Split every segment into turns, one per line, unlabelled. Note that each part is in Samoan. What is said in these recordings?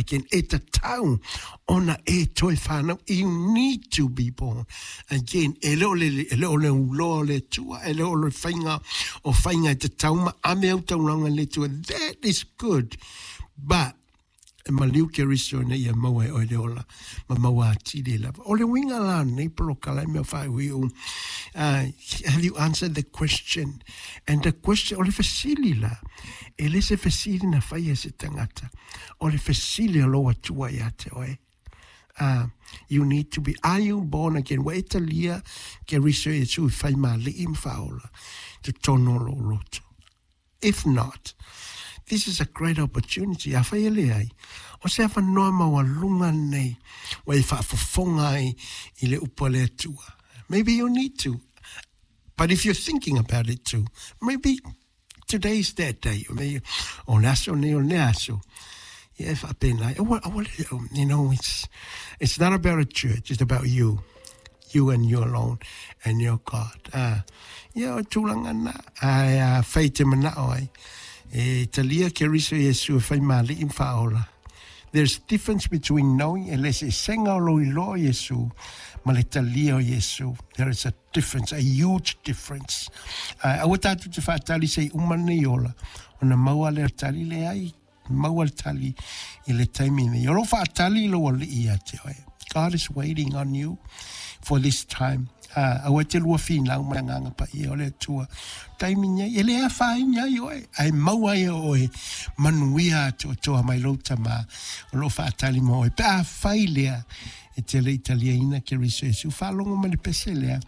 again. E tatau ona e toe whanau. You need to be born again. E le o le, e le o le uloa o le Atua, e le o le whainga o whainga e te tauma, a me au taulanga le Atua. That is good. But, e maliu Keriso ina ia maua e oe le ola ma maua atili lava. O le uiga la o lenei polokala e mea faaiuiu, have you answered the question? And the question, o le fesili la, e le se fesili na faia e se tagata, o le fesili a lou Atua ia te oe. You need to be, are you born again? Ua e talia Keriso Iesu i fai ma alii ma faaola i totonu o lou loto. If not, this is a great opportunity. Afai e leai, o se avanoa maualuga lenei ua e faafofoga ai i le upu a le Atua. Maybe you need to. But if you're thinking about it too, maybe today is that day. Maybe, o le aso nei o le aso. Ia e faapena ai. Aua, aua le, you know, it's not about a church, it's about you. You and you alone and your God. Ia o tulaga na, ae a fai te manao ai, e talia Keriso Iesu e fai maali'i ma faaola. There's difference between knowing e le eseesega o lou iloa o Iesu ma le talia o Iesu. There is a difference, a huge difference. Ae aua tatou te faatali se i uma lenei ola, ona maua lea o le tali, leai, Maua le tali i le taimi nei. O lo o faatali lou alii ia te oe. God is waiting on you for this time. Aua e te lua finau ma le Agaga Paia o le Atua. Taimi nei, e le afaina ai oe, ae maua ai e oe manuia atoatoa mai lou Tama o lo o faatali mo oe. Pe afai lea e te le i taliaina Keriso Iesu, faalogo mai le pese lea.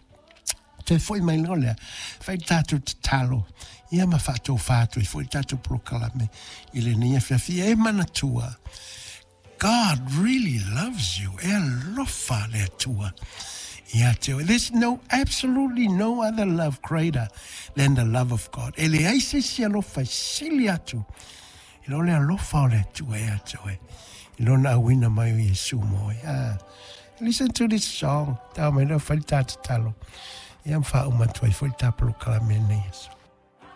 Toe foi mai loa lea, fai le tatou tatalo, ia ma faatofā atu ai foi le tatou polokalame i lenei afiafi. E manatua, God really loves you. E alofa le Atua ia te oe. There's no, absolutely no other love greater than the love of God. E leai se isi alofa e sili atu i lo le alofa o le Atua ia te oe. I lona auina mai o Iesu mo oe. Ah. Listen to this song. Tau mai lea fai le tā tatalo. Ia ma faauma atu ai foi le tā polokalame lenei aso.